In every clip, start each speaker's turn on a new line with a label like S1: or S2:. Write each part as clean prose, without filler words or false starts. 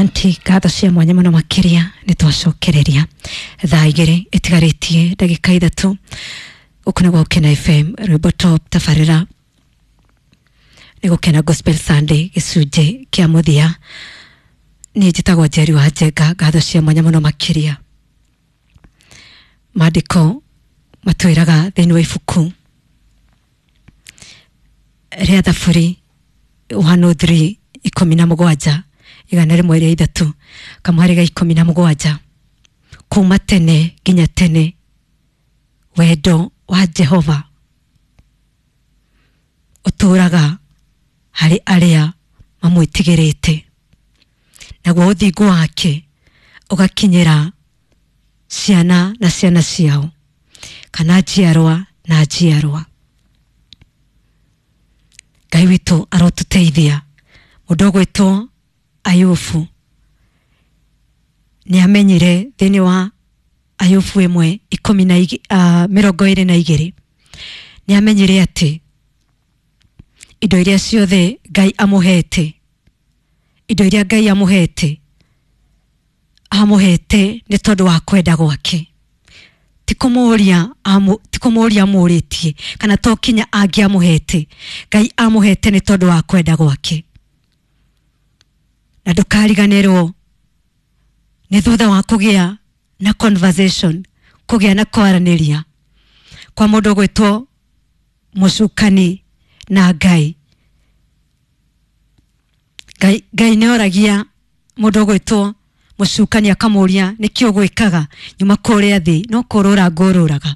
S1: Asanti, ngatho cia mwanya muno makiria nĩ twacokereria thaa 2 ĩtigarĩtie ndagĩka 3 gũkũ nĩ Gũkena FM rwĩmbo top tabarĩra nĩ Gũkena Gospel Sunday gĩcunjĩ kĩa mũthia. Niĩ njĩtagwo Njeri wa Njenga, ngatho cia mwanya mũno makĩria. Maandĩko matwĩraga thĩinĩ wa ibuku rĩa Thaburi 103 17 103 kamũhari ga 17, kuma tene nginya tene wendo wa Jehova ũtũũraga harĩ arĩa mamwĩtigĩrĩte, naguo ũthingu wake ũgakinyĩra ciana na ciana ciao, kana njiarwa na njiarwa. Ngai witũ arotũteithia. Mũndũ ũgwĩtwo Ayubu nĩ amenyire thĩinĩ wa Ayubu 1 22 nĩ amenyire atĩ indo iria ciothe Ngai amũhete, indo iria Ngai amũhete, amũhete nĩ tondũ wa kwenda gwake, ti kũmũria amũrĩtie kana to kinya angĩamũhete. Ngai amũhete nĩ tondũ wa kwenda gwake. Na ndũkariganĩrwo nĩ thutha wa kũgĩa na conversation, kũgĩa na kwaranĩria kwa mũndũ ũgwĩtwo mũcukani na Ngai. Ngai nĩ oragia mũndũ ũgwĩtwo mũcukani akamũria nĩkĩ ũgwĩkaga nyuma kũrĩa thĩ, no kũrũra ngũrũraga,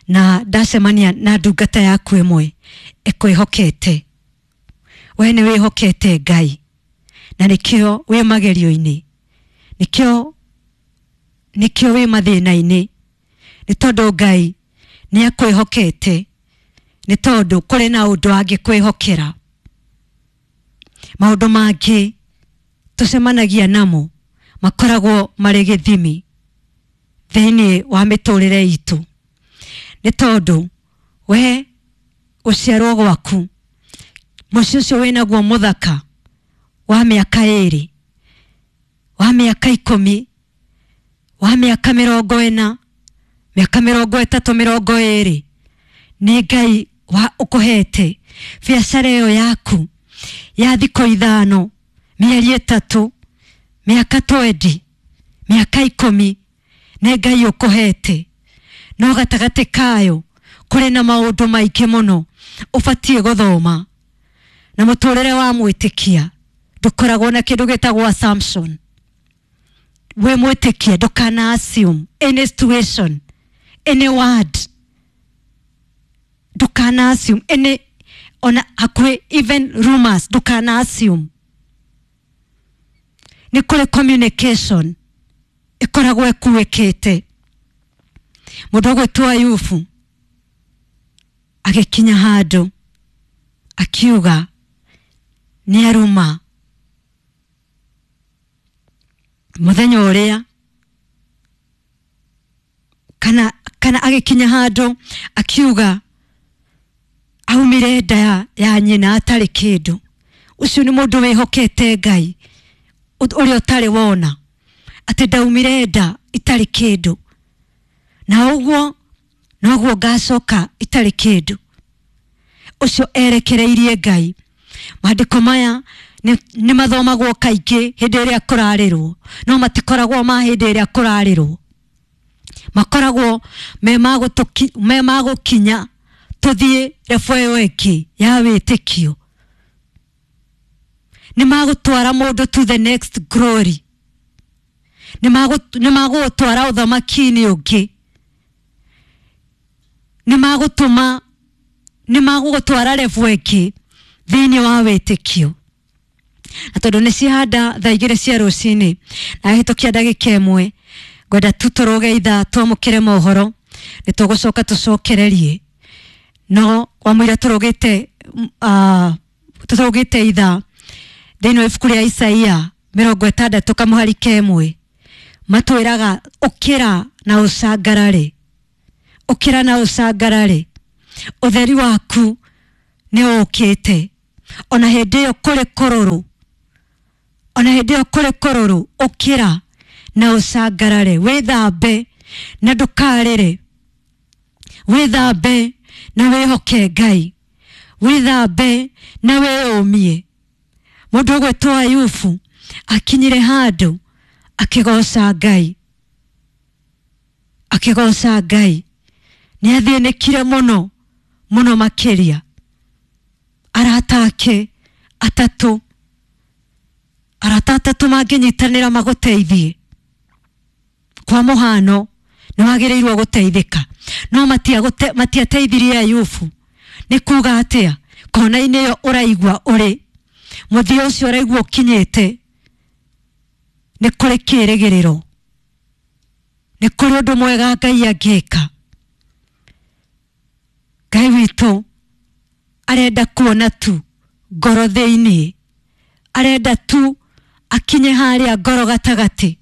S1: na ndacemania na ndungata yaku ĩmwe ĩkwĩhokete. We nĩ wĩhokete Ngai, na nĩkĩo wĩ magerio-inĩ, nĩkĩo wĩ mathĩna-inĩ, nĩ tondũ Ngai nĩ akwĩhokete, nĩ tondũ kũrĩ na ũndũ angĩkwĩhokera. Maũndũ mangĩ tũcemanagia namo makoragwo marĩ gĩthimi thĩinĩ wa mĩtũrĩre itũ, nĩ tondũ we gũciarwo gwaku, mũciĩ ũcio wĩnaguo mũthaka wa mĩaka 2, wa mĩaka 10, wa mĩaka 40, mĩaka 30, 20, nĩ Ngai wa ũkũhete biacara ĩyo yaku ya thikũ 5, mĩeri 3, mĩaka 20, mĩaka 10, nĩ Ngai ũkũhete. No gatagatĩ kayo kũrĩ na maũndũ maingĩ mũno ũbatiĩ gũthoma, na mũtũrĩre wa mwĩtĩkia ndũkoragwo na kĩndũ gĩtagwo assumption. We mwĩtĩkia ndũkana assume any situation, any word, ndũkana assume any, ona hakuhĩ even rumors, ndũkana assume. Nĩ kũrĩ communication ĩkoragwo ĩkuĩkĩte. Mũndũ ũgwĩtwo Ayubu agĩkinya handũ akiuga nĩ aruma mũthenya ũrĩa, kana agĩkinya handũ akiuga aumire nda ya nyina atarĩ kĩndũ. Ũcio nĩ mũndũ wĩhokete Ngai ũrĩa ũtarĩ wona atĩ ndaumire nda itarĩ kĩndũ, na ũguo noguo ngacoka itarĩ kĩndũ. Ũcio erekereirie Ngai. Maandĩko maya nĩ mathomagwo kaingĩ hĩndĩ ĩrĩa kũrarĩrwo, no matikoragwo ma hĩndĩ ĩrĩa kũrarĩrwo, makoragwo me magũkinya tũthiĩ rebu ĩyo ĩngĩ ya wĩtĩkio. Nĩ magũtwara mũndũ to the next glory, nĩ magũgũtwara ũthamaki-inĩ ũngĩ, nĩ magũtũma, nĩ magũgũtwara rebu ĩngĩ thĩinĩ wa wĩtĩkio. Na tondũ nĩ cihanda thaa 2 cia rũcinĩ na hĩtũkia ndagĩka 1, ngwenda tu tũrũge ithaa twamũkĩre mohoro, nĩ tũgũcoka tũcokererie. No wamũira tũrũgĩte ithaa thĩinĩ wa ibuku rĩa Isaia 60 kamũhari ka 1, matwĩraga ũkĩra na ũcangarare, ũkĩra na ũcangarare, ũtheri waku nĩ ũkĩte. Ona hĩndĩ ĩyo kũrĩ kũrũrũ, Ona hĩndĩ ĩyo kũrĩ kũrũrũ, ũkĩra na ũcangarare, wĩthambe na ndũkarĩre, wĩthambe na wĩhoke Ngai, wĩthambe na wĩyũmie. Mũndũ ũgwĩtwo Ayubu akinyire handũ akĩgoca Ngai, akĩgoca Ngai. Nĩ athĩnĩkire mũno mũno makĩria. Arata ake atatũ, arata atatũ mangĩnyitanĩra magũteithie, kwa mũhano nĩ wagĩrĩirwo gũteithĩka, no matiateithirie Ayubu. Nĩ kuga atĩa? Kona-inĩ ĩyo ũraigua ũrĩ mũthia ũcio ũraigua ũkinyĩte, nĩ kũrĩ kĩrĩgĩrĩro, nĩ kũrĩ ũndũ mwega Ngai angĩka. Ngai witũ arenda kuona tu ngoro thĩinĩ, arenda tu akinye harĩa ngoro gatagatĩ,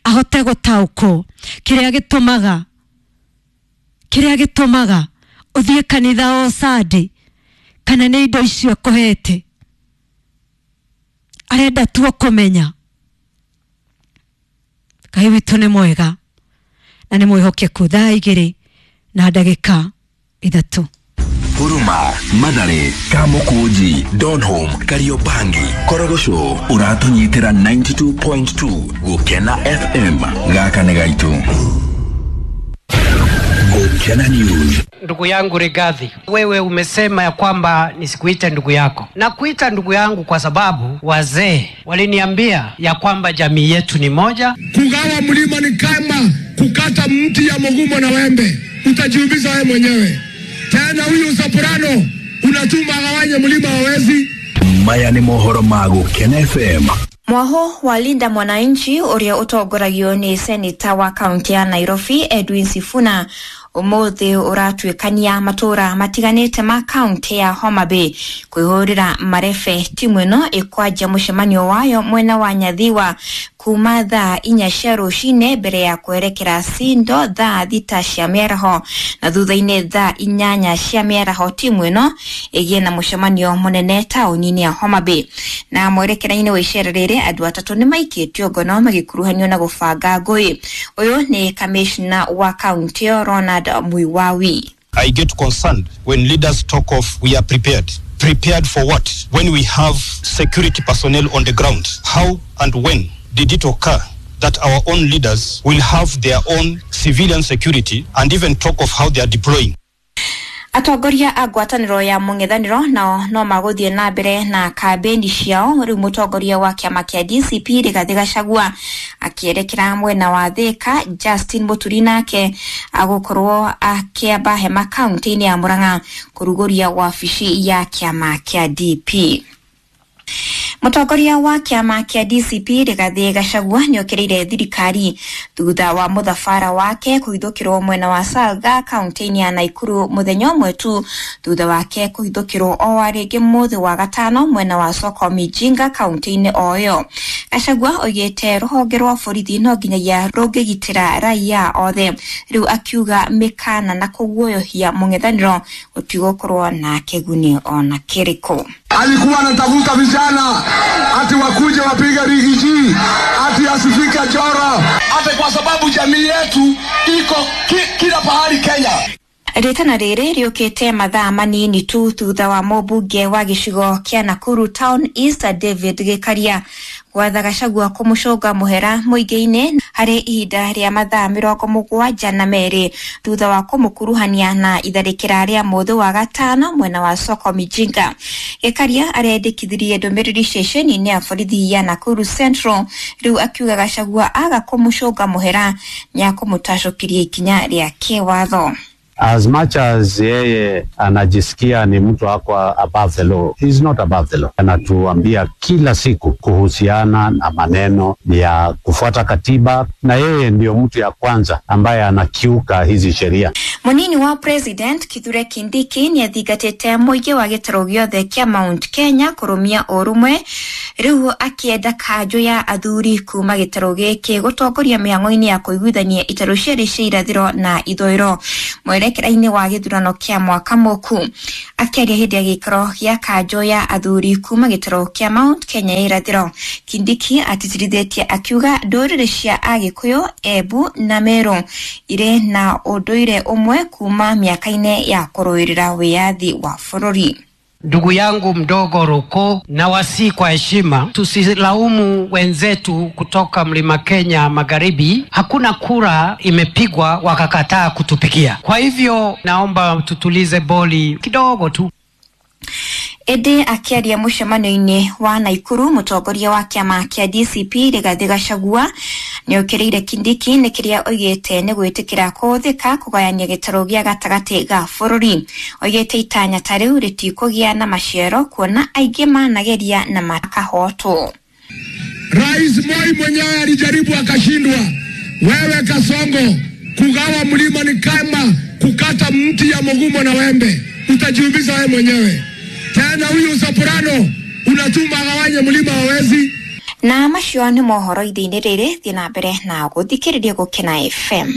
S1: ahote gũtaũkwo kĩrĩa gĩtũmaga, kĩrĩa gĩtũmaga ũthiĩ kanitha o Sunday, kana nĩ indo icio akũhete. Arenda tu kũmenya Ngai witũ nĩ mwega na nĩ mwĩhokeku. Thaa 2 na ndagĩka 3.
S2: Huruma, Mathare, Kamukunji, Donholm, Kariobangi, Korogocho, ũratũnyitĩra 92.2 Gũkena FM. Gaka nĩ gaitũ. Gũkena News.
S3: Ndugu yangu Rigathi, wewe umesema ya kwamba nisikuite ndugu yako. Na kuita ndugu yangu kwa sababu wazee waliniambia ya kwamba jamii yetu ni moja.
S4: Kugawa mlima ni kama kukata mti ya mugumo na wembe, utajiumiza wewe mwenyewe. Tena huyu Soprano unatuma agawanye mlima hawezi.
S2: Maya nĩ mohoro ma Gũkena FM.
S5: Mwaho wa Linda Mwananchi uria utongoragio ni seneta wa kaunti ya Nairobi Edwin Sifuna umuthi uratuikania matura matiganite ma kaunti ya Homa Bay kwihurira marebe. Timu ino ikwanjia mucemanio wayo mwena wa Nyathiwa kuma thaa 4 cia rucine mbere ya kwerekera Sindo thaa 6 cia mĩaraho, na thutha-inĩ thaa 8 cia mĩaraho timu ino ĩgĩe na mũcemanio mũnene taũni-inĩ ya Homa Bay. Na mwerekera-inĩ wa icera rĩrĩ andũ atatũ nĩ maikĩtio ngono magĩkuruhanio na gũbanga ngũĩ. Ũyũ nĩ kamishna wa kaunti ĩyo Ronald Mwiwawi.
S6: I get concerned when leaders talk of we are prepared. Prepared for what? When we have security personnel on the ground. How and when did it occur that our own leaders will have their own civilian security and even talk of how they are deploying?
S5: Atongoria a ngwatanĩro ya mũng'ethanĩro nao no magũthiĩ na mbere na kambĩni ciao. Rĩu mũtongoria wa kĩama kĩa DCP Rigathĩ Gachagua akĩerekera mwena wa Thika, Justin Muturi nake agũkorwo akĩamba hema kaunti-inĩ ya Murang'a kũrugũria wabici ya kĩama kĩa DP. Mũtongoria wa kĩama kĩa DCP Rigathĩ Gachagua nĩokĩrĩire thirikari thutha wa mũthabara wake kũhithũkĩrwo mwena wa Salga kaunti-inĩ ya Naikuru mũthenya ũmwe tu thutha wake kũhithũkĩrwo o wa rĩngĩ mũthĩ wa gatano mwena wa Soko Mijinga kaunti-inĩ o ĩyo. Gachagua oigĩte rũhonge rwa borithi no nginyagia rũngĩgitĩra raia othe, rĩu akiuga mĩkana na kũguoyohia mũng'ethanĩro gũtigũkorwo na kĩguni ona kĩrĩkũ.
S4: Alikuwa anatafuta vijana ati wakuje wapige rigiji, ati asifike Choro, ati kwa sababu jamii yetu iko kila pahali Kenya.
S5: Rĩtana rĩrĩ rĩũkĩte mathaa manini tu thutha wa mũmbunge wa gĩcigo kĩa Nakuru Town East David Gĩkaria gwatha Gachagua kũmũcũnga mũhera mũingĩ-inĩ harĩ ihinda rĩa mathaa 72 thutha wa kũmũkuruhania na itharĩkĩra rĩa mũthĩ wa gatano mwena wa Soko Mijinga. Gĩkaria arendekithirie ndũmĩrĩri ceceni-inĩ ya borithi ya Nakuru Central, rĩu akiuga Gachagua aga kũmũcũnga mũhera nĩakũmũtacũkĩria ikinya rĩa kĩwatho.
S7: As much as yeye anajisikia ni mtu ako above the law, he is not above the law. Anatuambia kila siku kuhusiana na maneno ya kufuata katiba, na yeye ndio mtu ya kwanza ambaye anakiuka hizi sheria.
S5: Munini wa President Kithure Kindiki nĩathingatĩte mũingĩ wa gĩtarũ gĩothe kĩa Mount Kenya kũrũmia ũrũmwe Rĩu akĩenda kanjũ ya athuri kuma gĩtarũ gĩkĩ gũtongoria mĩhang'o-inĩ ya kũiguithania itarũ cierĩ cia irathĩro na ithũĩro mwerekera-inĩ wa gĩthurano kĩa mwaka mũku. Akĩaria hĩndĩ ya gĩikaro gĩa kanjũ ya athuri kuma gĩtarũ kĩa Mount Kenya ya irathĩro, Kindiki atĩtĩrithĩtie akiuga ndũrĩrĩ cia Agĩkũyũ, Embu na Meru irĩ na ũndũire ũmwe kuma mĩaka-inĩ ya kũrũĩrĩra wĩyathi wa bũrũri.
S3: Ndugu yangu mdogo Ruko, na wasi kwa heshima, tusilaumu wenzetu kutoka mlima Kenya magharibi. Hakuna kura imepigwa wakakataa kutupigia. Kwa hivyo naomba tutulize boli kidogo tu.
S5: Ĩndĩ akĩaria mũcemanio-inĩ wa Naikuru, mũtongoria wa kĩama kĩa DCP Rigathĩ Gachagua nĩokĩrĩire Kindiki nĩ kĩrĩa oigĩte nĩ gwĩtĩkĩra kũhũthĩka kũgayania gĩtarũ gĩa gatagatĩ ga bũrũri. Oigĩte itanya ta rĩu rĩtikũgĩa na maciaro kuona aingĩ manageria na makahotwo.
S4: Rais Moi mwenyewe alijaribu akashindwa. Wewe Kasongo, kugawa mlima ni kama kukata mti ya mugumo na wembe, utajiumiza wewe mwenyewe. Tena huyu soprano unatuma agawanye mlima hawezi.
S5: Na macio nĩ mohoro ithe-inĩ rĩrĩ, thiĩ na mbere na gũthikĩrĩria Gũkena FM.